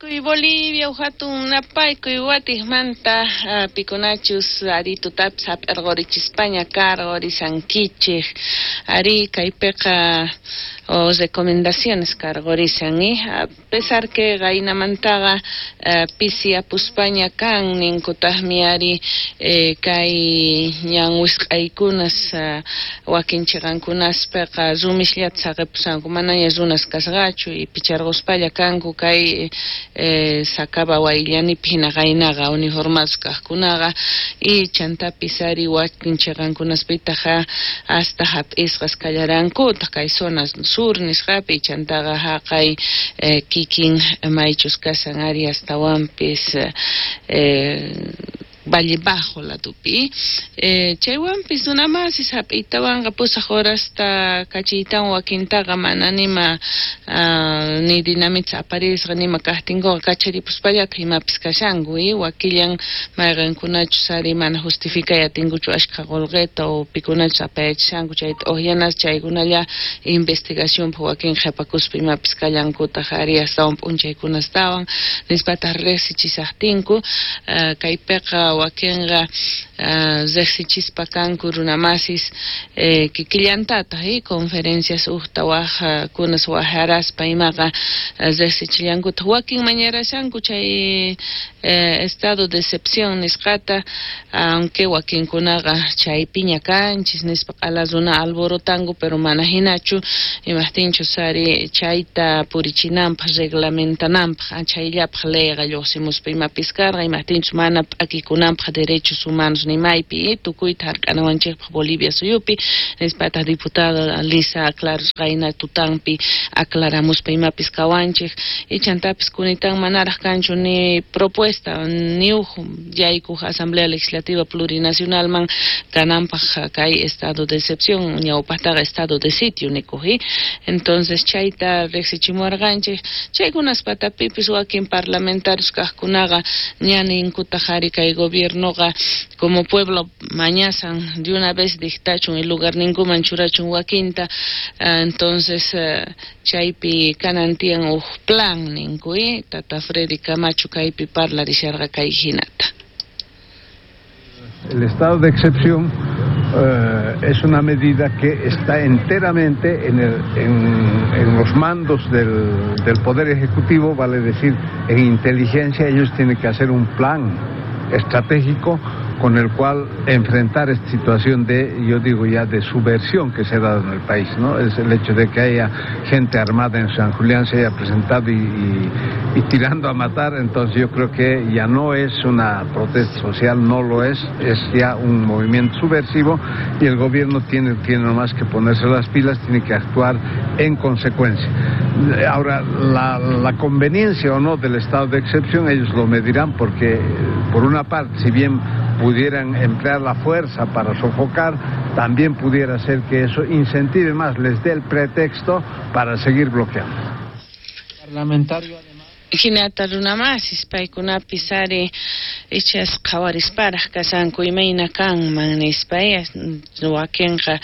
Napaykuy Bolivia, hatun napaykuy watijmanta pikunachus ari tutapis hap'irqurichispaña karqurisankichik ari kaypiqa o recomendaciones karqurisan a pesar que qaynamantaqa pisi apuspaña kan ninkutaqmi ari kay ñan wisq'aykunas wakin chiqankunaspiqa rumisllata saqipushanku manaña runas kasqachu y picharquspalla kanku kay Sacaba Wayllanipi hina qaynaqa uniformados kaqkunaqa y chantapis ari wakin chiqankunaspitaq hasta hap'isqas kallarankutaq kay zona sur nisqapi chantaqa haqay kikin maychus kashan ari astawanpis Valle Bajo ladopi. Chaywanpis runamasis hap'iytawanqa 8 horasta kachiytawan wakintaqa mana nima ni dinamita aparisqa nima kaqtinkuqa kacharipuspallataq imapis kashanku wakillan mayqinkunachus ari mana justificay atinkuchu ashkha qolqeta o pikunachus apayachishanku chayta uqyanas chaykunalla investigacionpaq wakin qhipakuspa imapis kallankutaq ari astawan p'unchaykunastawan nispataq riqsichisaqtinku kaypiqa wakinqa riqsichispa kanku runamasis kikillantataq conferencias uqta waj kunas wajaraspa imaqa riqsichillankutaq wakin mañarashanku chay estado de excepción nisqata aunque wakinkunaqa chaypiña kanchis nispa q'ala runa alborotanku pero mana hinachu imaqtinchus ari chayta purichinanpaq reglamentananpaq chayllapaq leyqa lluqsimuspa imapis karqa imaqtinchus mana p'akikunanpaq derechos humanos nimaypi tukuyta hark'anawanchikpaq Bolivia suyupi nispataq diputada Lisa Claros qayna tutanpi aclaramuspa imapis kawanchik y chantapis kunitan manaraq kanchu ni propuesta ni uj yaykuq Asamblea Legislativa Plurinacionalman kananpaq kay estado de excepción ñawpaqtaqa estado de sitio nikuq entonces chayta riqsichimuwarqanchik chaykunas patapipis wakin parlamentarios kaqkunaqa ña ninkutaq ari kay gobiernoqa como pueblo mañasan de una vez dictachun y lugarninkuman churachun wakinta entonces chaypi kanan tiyan uj plan ninku tata Freddy Camacho kaypi parlarisharqa kay hinata. El estado de excepción es una medida que está enteramente en los mandos del Poder Ejecutivo, vale decir, en inteligencia. Ellos tienen que hacer un plan estratégico con el cual enfrentar esta situación de, yo digo ya, de subversión que se ha dado en el país, ¿no? Es el hecho de que haya gente armada en San Julián, se haya presentado y tirando a matar, entonces yo creo que ya no es una protesta social, no lo es ya un movimiento subversivo y el gobierno tiene nomás que ponerse las pilas, tiene que actuar en consecuencia. Ahora, la conveniencia o no del estado de excepción, ellos lo medirán porque, por una parte, si bien pudieran emplear la fuerza para sofocar, también pudiera ser que eso incentive más, les dé el pretexto para seguir bloqueando. Parlamentario además. Hinata runamasis paykunapis ari ichas qhawarisparaq kashanku imayna kanman nispa wakinqa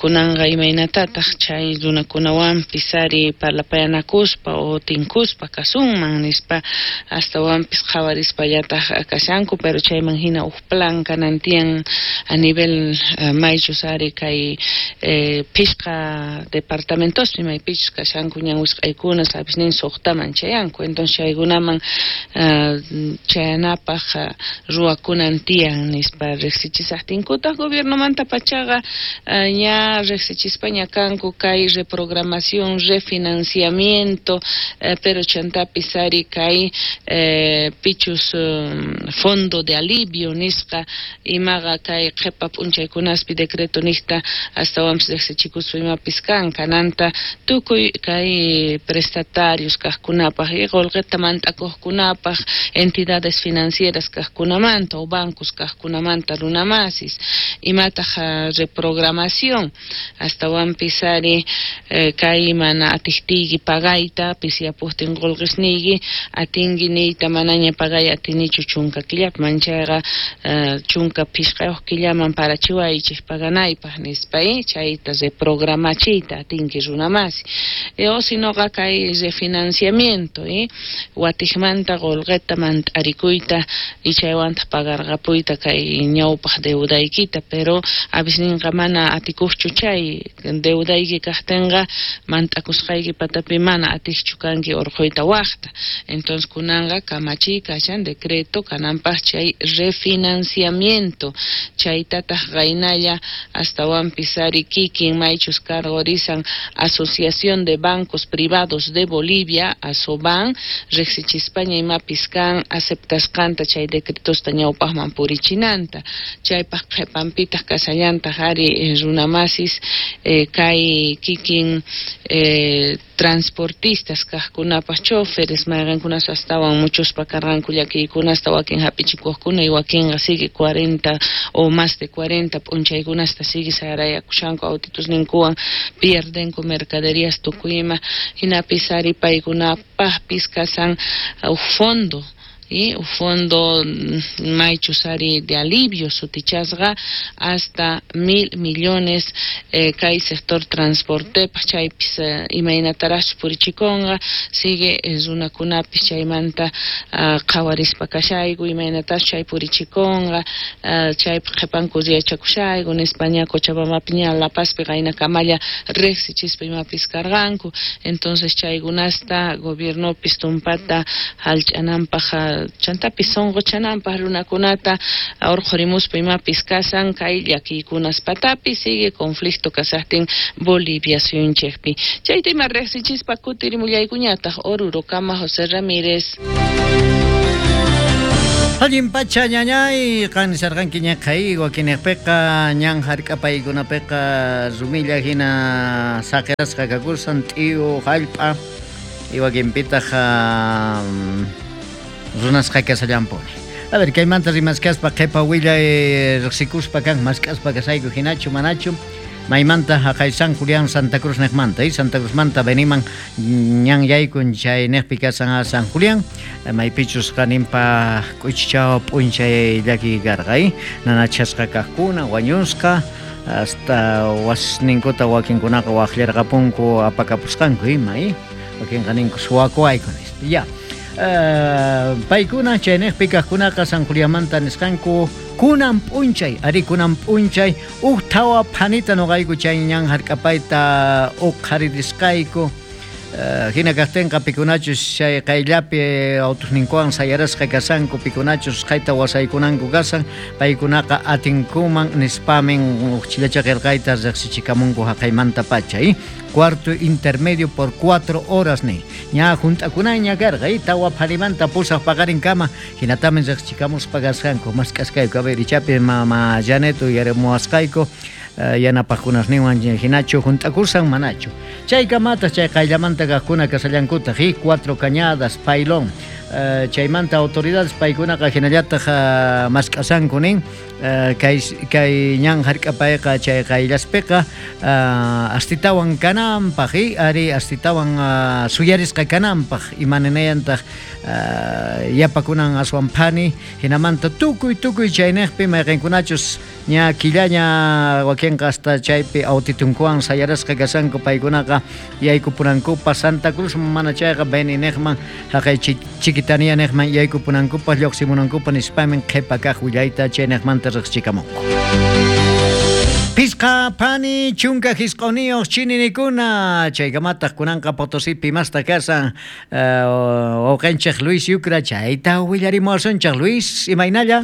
kunanqa imaynatataq chay runakunawanpis ari parlapayanakuspa o tinkuspa kasunman nispa astawanpis qhawarispallataq kashanku pero chayman hina uj plan kanan tiyan a nivel maychus ari kay pishqa departamentospi maypichus kashanku ñan wisq'aykuna sabes nin suqtaman chayanku entonces chaykunaman chayanapaq ruwakunan tiyan nispa riqsichisaqtinkutaq gobiernomanta pachaqa ña riqsichispaña kanku kay reprogramación refinanciamiento pero chantapis ari kay pichus fondo de alivio nisqa imaqa kay qhipa p'unchaykunaspi decreto niqta astawanpis riqsichikuspa imapis kan kananta tukuy kay prestatarios kaqkunapaq y qolqeta mant'akuqkunapaq entidades financieras kaqkunamanta o bancos kaqkunamanta runamasis imataq reprogramación astawanpis ari kay mana atiqtiyki pagayta pisiyapuqtin qolqisniyki atinki niyta manaña pagay atinichu chunka killapi manchayqa 15 killaman parachiwaychik paganaypaq nispa chayta reprogramachiyta atinki runamasi o sinoqa kay refinanciamiento atinkichu watijmanta qolqeta mant'arikuyta y chaywantaq pagarqapuyta kay ñawpaq deudaykita, pero avisninqa mana atikuqchu chay deudayki kaqtinqa mant'akusqayki patapi mana atiqchu kanki urquyta waqta. Entonces kunanqa kamachiy kashan decreto kananpaq chay refinanciamiento, chaytataq qaynalla astawanpis ari kikin maychus cargorisan Asociación de Bancos Privados de Bolivia, ASOBAN, riqsichispaña imapis kan aceptasqanta chay decretosta ñawpaqman purichinanta, chaypaq qhipanpitaq kasallantaq ari runamasis kay kikin transportistas kaqkunapaq choferes mayqankunas astawan muchospa karqanku llakiykunasta wakin hap'ichikuqkuna y wakinqa sigue 40 o más de 40 p'unchaykunasta sigue sarayakushanku autitusninkuwan pierdenku mercaderías tukuyma, hinapis ari paykunapaqpis kasan uj fondo y un fondo maychus ari de alivio sutichasqa hasta 1.000 millones kay sector transportepaq chaypis imaynataraqchus purichikunqa sigue runakunapis chaymanta qhawarispa kashayku imaynatachus chay purichikunqa chaypaq qhipanku yachakushayku nispa ña Cochabambapi ña La Pazpi qaynakamalla riqsichispa imapis karqanku. Entonces chaykunasta gobiernopis tumpata hallch'ananpaq chantapis sunquchananpaq runakunata urqhurimuspa imapis kasan kay llakiykunas patapi sigue conflicto kasaqtin Bolivia suyunchikpi. Chayta ima riqsichispa kutirimullaykuñataq Orurokama José Ramírez. Allin pacha ñañay qan nisarqanki ñaqhay wakinniqpiqa ñan hark'apaykunapiqa rumilla hina saqirasqa kakusan t'iyu hallp'a y wakinpitaq runasqa kasallampuni. A ver, kaymanta rimaskaspa qhipa willay riqsikuspa kan mask'aspa kasayku hinachu manachu maymanta haqay San Julián Santa Cruz niqmanta, Santa Cruzmanta beniman ñan yaykun chay niqpi kasan San Julián maypichus qaninpa k'uchichaw p'unchay llakiy karqa, nanachasqa kaqkuna wañusqa hasta wasninkuta wakinkunaqa waqllarqapunku apakapusqanku ima, wakinqa ninku suwakuwayku nispa. Ya. Paykuna chayniqpi kaqkunaqa San Julianmanta nisqanku kunan p'unchay, ari kunan p'unchay uj thawa phanita nuqayku chay ñan hark'apayta uqharirisqayku. Hina kaqtinqa pikunachus chay qayllapi autusninkuwan sayarasqa kasanku pikunachus qayta wasaykunanku kasan paykunaqa atinkuman nispamin uj chillacha qillqayta riqsichikamunku haqaymanta pacha, Cuarto intermedio por 4 horas ni ña junt'akunaña karqa, tawa pharimanta pusaq paqarinkama hinatamin riqsichikamuspa kasqanku mask'asqayku. A ver, ichapi mama Janet uyarimuwasqayku yanapaqkunasninwan hinachu junt'akusan manachu. Chaykamataq chay qayllamanta kaqkuna kasallankutaq, 4 Cañadas, Pailón, chaymanta autoridades paykunaqa hinallataq mask'asanku nin kay ñan hark'apayqa chay qayllaspiqa astitawan kananpaq, ari astitawan suyarisqa kananpaq imaninayantaq yapakunan aswan phani hinamanta tukuy tukuy chayniqpi mayqinkunachus ña killaña wakinqa hasta chaypi autitunkuwan sayarasqa kasanku paykunaqa yaykupunankupa Santa Cruz mana chayqa Beni niqman haqay Chiquitania niqman yaykupunankupa lluqsimunankupa nispamin qhipa kaq willayta chayniqmanta riqsichikamunku. Pisqa phani chunka hisq'uniyuq chininikuna chaykamataq kunanqa Potosipi masta kasan wawqinchik Luis Yucra chayta willarimuwasunchik. Luis, imaynalla?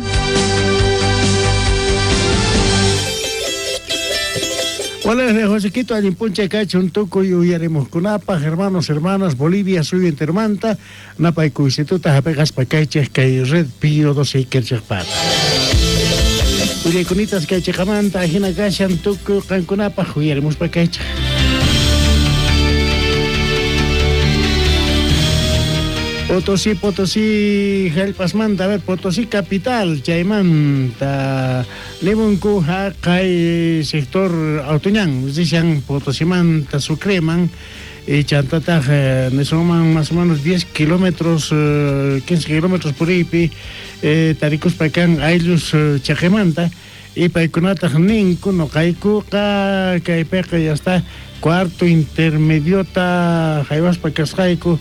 Hola, Josequito, allin p'unchay kachun tukuy uyarimuqkunapaq, hermanos, hermanas, Bolivia suyu entermanta, napaykuysituta hapiqaspa kaychik kay Red Pío 12 ikerchikpata. Willaykunitaq kaychiqamanta hina kashan tukuy qankunapaq uyarimuspa kaychik. Potosí, Potosí, hallp'asmanta, a ver, Potosí capital, chaymanta, Limunku haqay sector Autoñán, dicen Potosimanta, Sucreman, y chantataq nisunman más o menos 10 kilómetros, 15 kilómetros por ahí, tarikuspa kan ayllus chaqemanta, y paykunataq ninku nuqaykuqa kaypiqa ya está Cuarto intermediota haywaspa kasqayku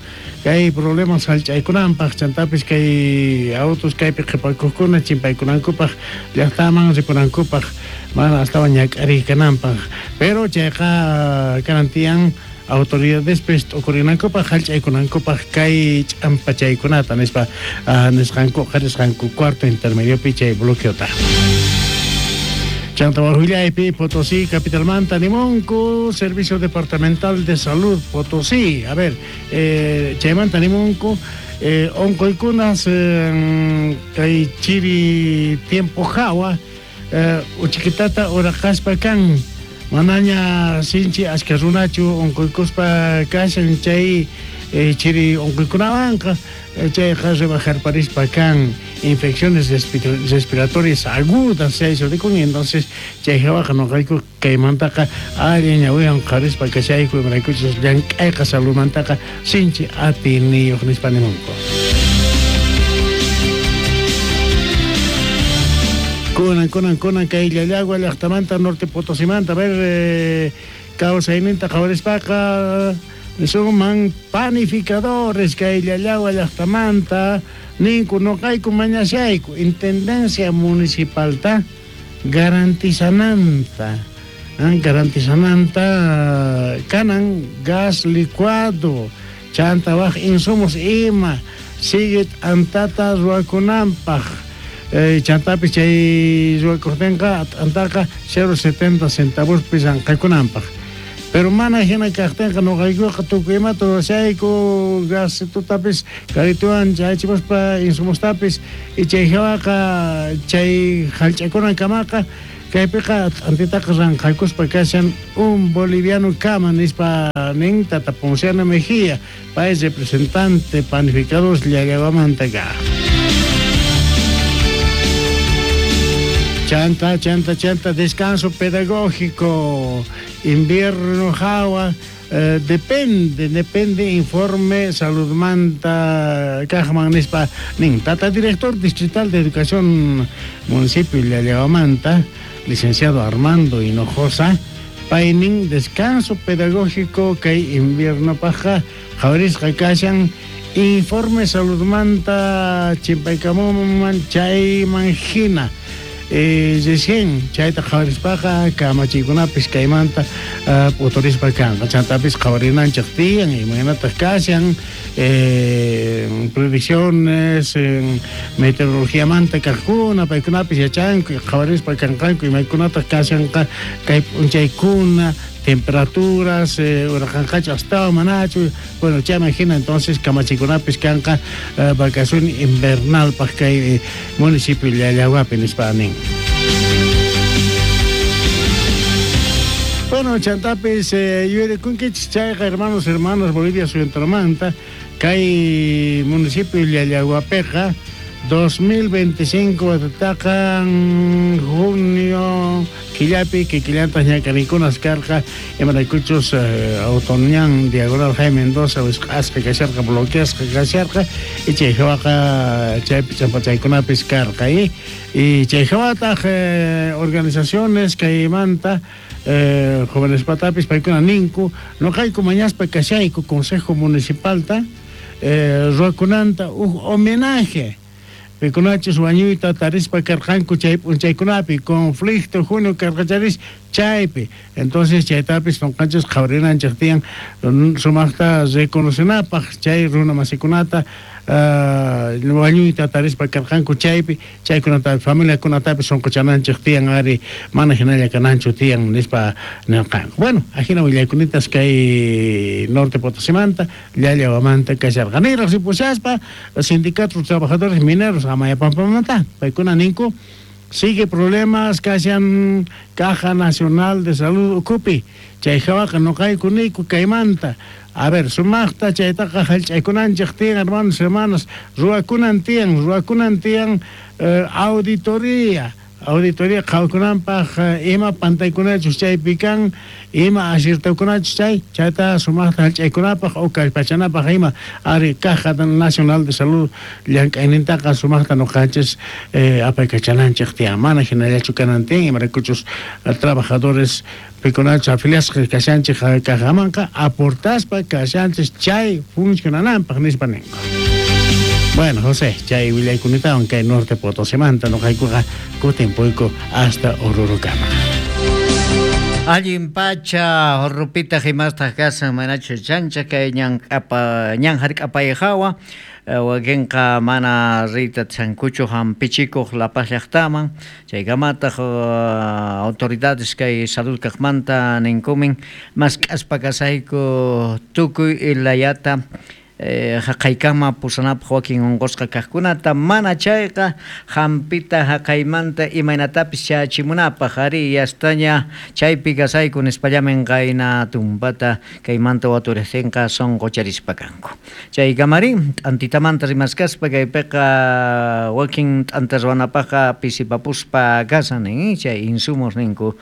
kay problemas hallch'aykunanpaq chantapis kay autos kaypi qhipakuqkuna chimpaykunankupaq llaqtaman ripunankupaq mana astawan ñak'ariy kananpaq pero chayqa kanan tiyan autoridadespis t'ukurinankupaq hallch'aykunankupaq kay ch'ampachaykunata nispa nisqanku qarisqanku cuarto intermediopi chay bloqueota. Chanta Wajullaypi, Potosí, capitalmanta, nimunku, Servicio Departamental de Salud, Potosí. A ver, chaymanta nimunku, onqoykunas kay chiri tiempo hawa, uchikitata uraqaspa kan, manaña sinchi ashka runachu onqoykuspa kashan chay chiri onqoykunawanqa, chayqa rebajarparispa kan infecciones respiratorias agudas chay sutikun, entonces chay hawaqa noqayku kaymantaqa allin ñawiwan qarispa kashayku imaraykuchus llank'ayqa saludmantaqa sinchi atiyniyuq nispa nimunku. Kunan, kunan, kunan kay Llallagua llaqtamanta Norte Potosimanta, a ver, kawsayninta qhawarispaqa nisunman panificadores kay Llallagua llaqtamanta ninku noqayku mañashayku intendencia municipalta garantizananta, garantizananta kanan gas licuado chanta waj insumos ima sigue t'antata ruwakunanpaq. Chantapis chay ruwakuqtinqa t'antaqa 0.70 centavos pisanqakunanpaq. Pero mana hina kaqtinqa noqaykuqa tukuy imata ruwashayku gasitutapis karituwan chaychimuspa insumostapis y chay hawaqa chay hallch'akunankamaqa kaypiqa t'antitaqa ranqakuspa kashan un boliviano kama nispa nin Tata Ponciano Mejía, pay representante panificadores Llallaguamanta ka. Chanta, chanta, chanta, descanso pedagógico, invierno hawa, depende, depende informe saludmanta kajman nispa nin Tata director distrital de educación municipio Llallaguamanta, licenciado Armando Hinojosa, paynin descanso pedagógico kay invierno paja qhawarisqa kashan informe saludmanta chimpaykamuman chayman hina. Recién chayta qhawarispaqa kamachiykunapis kaymanta p'uturispa kanqa chantapis qhawarinanchik tiyan imaynataq kashan predicciones meteorologiamanta kaqkuna paykunapis yachanku qhawarispa kanqanku imaykunataq kashanqa kay p'unchaykuna temperaturas uraqanqachu astawan manachu bueno chayman hina entonces kamachikunapis kanqa vacación invernalpaq kay municipio Llallaguapi nispa nin. Bueno, chantapis yuyarikunkichis chayqa hermanos hermanas Bolivia suyuntarmanta kay municipio Llallaguapiqa 2025 watataqa junio killapi kikillantaq ñak'ariykunas karqa imaraykuchus autoñan diagonal Jaime Mendoza wisq'asqa kasharqa bloqueasqa kasharqa y chay hawaqa chaypi ch'ampachaykunapis karqa y chay hawataq organizaciones kaymanta jóvenes patapis paykuna ninku noqayku mañaspa kashayku consejo municipalta ruwakunanta uj homenaje pikunachus wañuyta tarispa karqanku chay p'unchaykunapi conflicto junio karqacharis chaypi entonces chaytapis noqanchis qhawarinanchik tiyan sumaqta reconocenapaq chay runa masikunata wañuyta tarispa karqanku chaypi chaykunata familiakunatapis sunquchananchik tiyan ari mana hinalla kananchu tiyan nispa nirqanku. Bueno, ajina willaykunatas kay Norte Potosimanta Llallaguamanta kasharqa. Niraq ripushaspa sindicato trabajadores mineros Amayapampamanta paykuna ninku sigue problemas kashan Caja Nacional de Salud ukupi chay hawaqa noqayku niyku kaymanta. A ver, sumaqta chaytaqa hallch'aykunanchik tiyan hermanos hermanas ruwakunan tiyan auditoría. Auditoría qhawkunanpaq ima pantaykunachus chaypi kan, ima aciertokunachus chay, chayta sumaqta hallch'aykunapaq o kallpachanapaq ima ari Caja Nacional de Salud llank'aynintaqa sumaqta nuqanchis apaykachananchik tiyan, mana hinallachu kanan tiyan, imaraykuchus trabajadores pikunachus afiliasqa kashanchik cajamanqa aportaspa kashanchis chay funcionananpaq nispa ninku. Bueno, José, chay willaykunatawan kay Norte Potosimanta nuqaykuqa kutimpuyku hasta Orurukama. Allin pacha rupitaq imastaq kasan manachu chancha kay ñan k'apa ñan hark'apay hawa wakinqa mana riyta atisqankuchu hampichikuq La Paz llaqtaman chaykamataq autoridades kay salud kaqmanta ninkumin mask'aspa kasayku tukuy layata Jaqaykama pusanapaj wakin onqosqa kajkunata, mana chayqa jampita jaqaymanta imaynatapis chayachimunapaj. Arí, yastaña chaypi kasayku nispallamin qayna tumpata kaymanta waturejtenqa sonqocharispa kanku. Chaykamarí, t'antitamanta rimaskaspa kaypeqa wakin t'anta ruwanapajqa pisipapuspa kashan nin, chay insumos ninku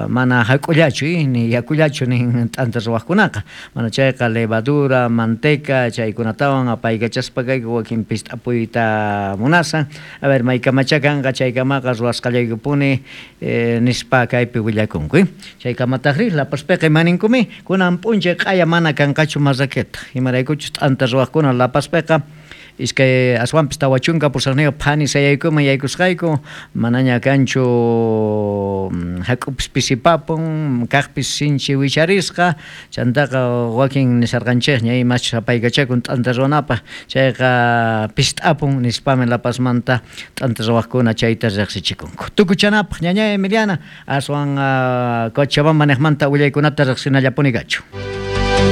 mana jak'ullachu, ni yakullachu nin t'anta ruwajkunaqa. Mana chayqa levadura, manteca chaykunatawan apaykachaspa kayku wakin pist'apuyta munasan. A ver, maykamachá kanqa chaykamaqa ruwasqallaykupuni nispa kaypi willakunku. Chaykamatajrí La Pazpiqa ima ninkumi? Kunan p'unchay q'aya mana kanqachu marraqueta. Imaraykuchus t'anta ruwajkuna La Pazpiqa Iskay aswanpis 48 phani sayaykuman yaykusqayku, manaña kanchu jak'upis pisipapun, kajpis sinchi wicharisqa, chantaqa wakin nisharqanchejña imachus apaykachakun t'anta ruwanapaj, chayqa pist'apun nispami La Pazmanta t'anta ruwajkuna chayta rejsichikunku. Tukuchanapaj ñañay Emiliana, aswan Cochabamba nejmanta willaykunata rejsinallapuni kachun.